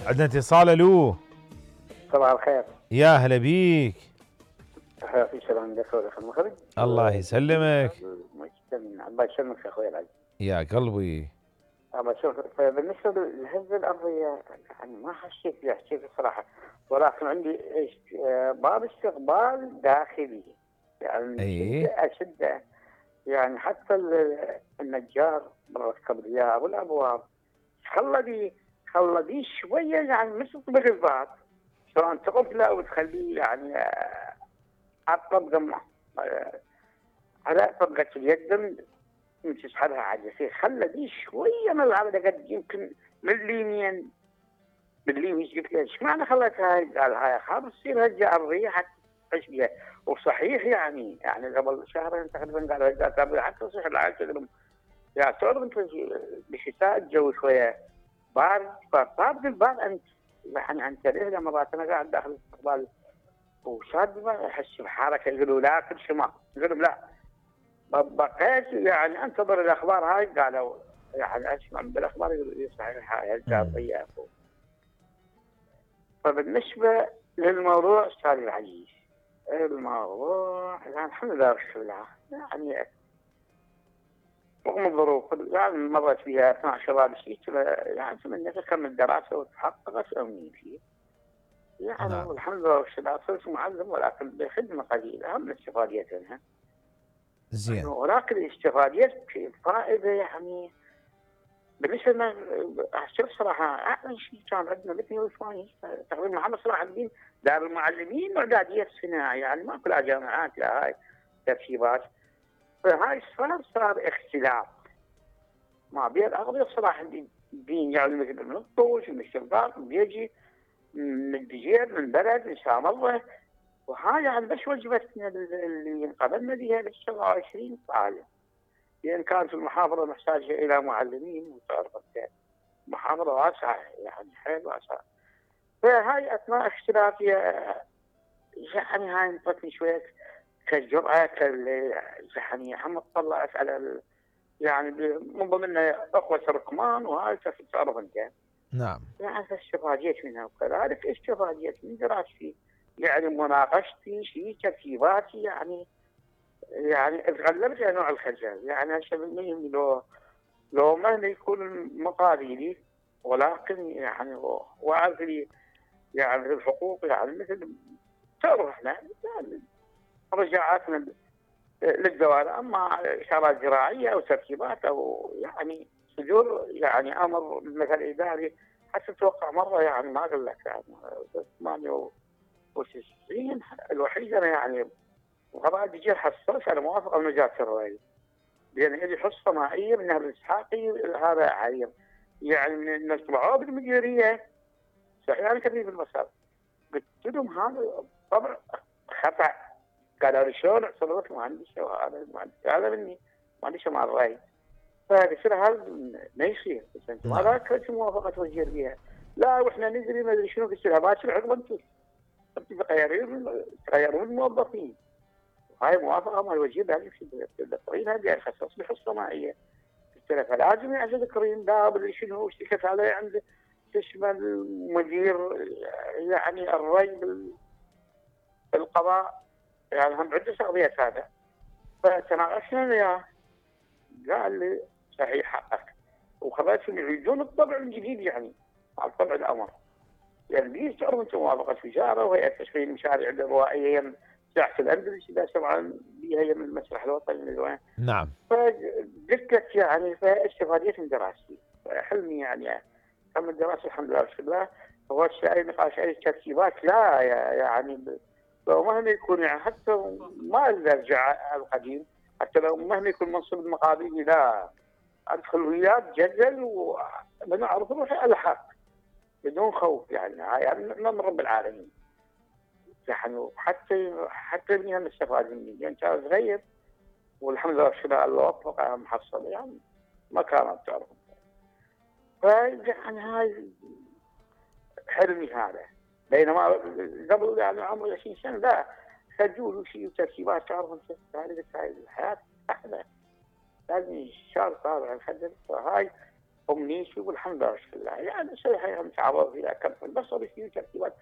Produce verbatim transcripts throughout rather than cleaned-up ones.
عندنا اتصال. الو صباح الخير. يا هلا بيك. في سلام لك ولك المخرج. الله يسلمك. الله يسلمك يا اخوي العزيز. يا قلبي. الله يسلمك. بالنسبه للهزه الارضيه يعني ما حسيت فيها، حسيت الصراحه، ولكن عندي باب استقبال داخلي يعني اي اشده يعني حتى النجار مركب لي والابواب خلى دي خلى دي شويه يعني مثل طبق الباب، سواء تقفله او تخليه يعني على الطبقه على طبقه اليد من تسحبها على يصير خلى دي شويه من العرض قد يمكن من اليمين من اليمين. قلت له ايش معنى خليتها؟ قال هاي خاف تصير هجه ارضيه حتى تعيش بها. وصحيح يعني يعني قبل شهرين تقريبا قال هجه حتى تصيح العالم يا تعرف انت بشتاء الجو شويه بارد، فطابق الباب انت يعني انت ليه مرات انا قاعد داخل الاستقبال وشاد ما احس بحركه، يقولوا لا كل شيء ما يقولوا لا بقيت يعني انتظر الاخبار هاي قالوا يعني اسمع بالاخبار يقولوا صحيح هاي الجاريه. فبالنسبه للموضوع استاذ العزيز الموضوع يعني الحمد لله والشكر لله يعني رغم الظروف يعني مرت فيها اثناء شباب الشيء يعني اتمنى تكمل دراسه وتحققت امنيه فيه يعني. نعم. الحمد لله والشكر لله صرت معلم ولكن بخدمه قليله اهم الاستفاديات منها. زين. ولكن الاستفاديات في فائده يعني بالنسبه لنا شوف صراحه اعلى شيء كان عندنا مثل وثمانين تقريبا محمد صلاح الدين دار المعلمين واعداديه صناعه يعني ما كلها جامعات لا هاي ترتيبات. فهاي صار صار اختلاف ما بين اغلبيه صلاح الدين يعني مثل من الطوش من الشرقاق من بيجي من الدجير من بلد من شام الله. وهاي يعني بس وجبتنا اللي انقبلنا بها بس سبعة وعشرين طالب لان كانت المحافظه محتاجه الى معلمين وتعرف محافظه واسعه يعني حيل واسعه. فهاي اثناء اختلافها يعني هاي انطتني شويه كالجرأه كال يعني هم طلعت على يعني من ضمنها اخوه الرقمان وهاي تعرف انت. نعم. يعني استفاديت منها وكذلك استفاديت من دراستي يعني مناقشتي في ترتيباتي يعني يعني تغلبت على نوع الخجل يعني هسه بالمهم لو لو ما يكون مقاليدي ولكن يعني واعرف لي يعني الحقوق يعني مثل تعرف احنا يعني رجعاتنا للدوائر اما اشارات زراعيه او ترتيبات او يعني صدور يعني امر مثل اداري حتى اتوقع مره يعني ما اقول لك يعني ثمانية وتسعين الوحيد انا يعني وغباء دجيل حصلت على موافقه من وزاره الري لان لي حصه مائيه من الاسحاقي هذا عيب يعني من الطبعوه بالمديريه صحيح انا كثير بالمسار قلت لهم هذا طبع خطا. قالوا لي شلون اعترضت مهندس وهذا المهندس هذا مني مهندس مع الري. فقلت له هذا ما يصير انت ما ذاك موافقه وزير بها لا واحنا ندري ما ادري شنو. قلت لها باكر عقب انتم انتم تغيرون تغيرون الموظفين هاي موافقه مع الوزير لازم التقرير هذه يخصص لي حصه مائيه. قلت له فلازم يعزل التقرير لا بدري شنو اشتكت عليه عند اسمه المدير يعني الري بالقضاء يعني هم عده شغليات هذا. فتناقشنا وياه قال لي صحيح حقك وخبرتهم يعيدون الطبع من جديد يعني على طبع الامر يعني بيش تعرف انت موافقه وزاره وهيئه تشغيل المشاريع الروائيه ساحه الاندلس اذا طبعا هي من المسرح الوطني من وين. نعم. فقلت لك يعني فاستفاديت من دراستي حلمي يعني هم الدراسه الحمد لله والشكر لله. هو اي نقاش اي ترتيبات لا يعني لو مهما يكون يعني حتى ما ارجع على القديم حتى لو مهما يكون منصب المقابلي لا ادخل وياك جدل وبنعرف روحي الحق بدون خوف يعني يعني من رب العالمين يعني حتى حتى ابني هم استفاد مني يعني كان صغير والحمد لله والشكر الله وفقه محصل يعني ما كانت تعرف. فيعني هاي حلمي هذا بينما قبل يعني عمري عشرين سنه لا خجول وشيء وترتيبات تعرف انت هاي الحياه احلى لازم الشارع طالع الخجل. فهاي امنيتي والحمد لله شكر الله. يعني صحيح متعوض فيها كف البصر في ترتيبات،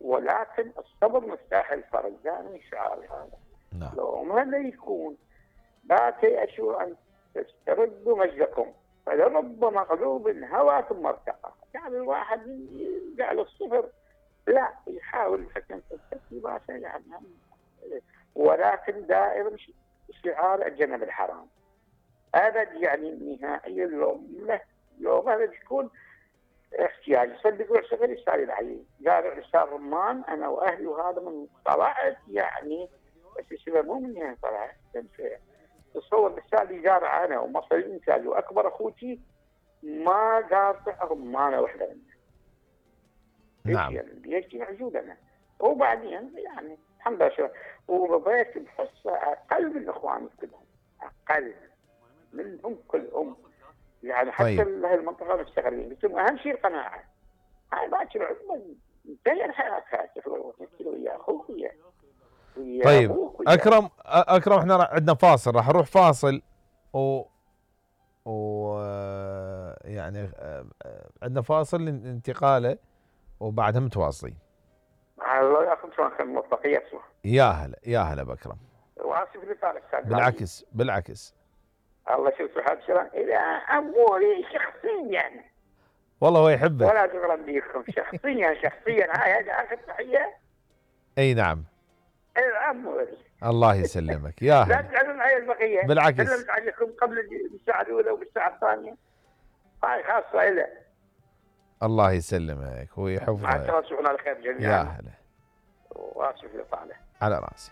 ولكن الصبر مفتاح الفرج. يعني شعاري هذا. نعم. لو ما يكون لا تيأسوا ان تستردوا مجدكم، فلرب مغلوب هوى ثم ارتقى. يعني الواحد يرجع للصفر، لا يحاول يحكم في الترتيبات يعني، ولكن دائما شعار الجنب الحرام. ابد يعني نهائيا لو له لو ما تكون احتياج. صدقوا صغير يسال العيل قال عصام رمان انا واهلي وهذا من طلعت يعني، بس السبب مو من هنا طلعت. تصور لسالي زارع انا ومصري انتاج واكبر اخوتي ما قاطع رمانه واحده منها. نعم. يعني بيجي معجودنا. وبعدين يعني الحمد لله شو وبيت بحصه اقل من اخواني كلهم، اقل منهم كلهم. يعني حتى طيب. المنطقه مستغلين. قلت لهم اهم شيء القناعه. هاي باكر عقبه تغير حياتها تفكر ويا اخوك ويا طيب ابوك ويا اكرم اكرم احنا عندنا فاصل، راح نروح فاصل و و يعني عندنا فاصل انتقاله وبعدها متواصلين. الله ياخذ شلون كان موفقيه اسمه. يا هلا يا هلا باكرم. واسف لطالك استاذ. بالعكس بالعكس. الله يشوف حالك شلون. اذا اموري شخصيا يعني. والله هو يحبك. ولا تغرم بيكم شخصيا شخصيا. هاي هذا اخر تحيه. اي نعم. الاموري. الله يسلمك يا هلا. لا تزعلون علي البقيه. بالعكس. سلمت عليكم قبل الساعه الاولى والساعه الثانيه. هاي خاصه له. الله يسلمك ويحفظك. مع التواصل على خير جميعا. يا هلا. واسف لطاله. على راسي.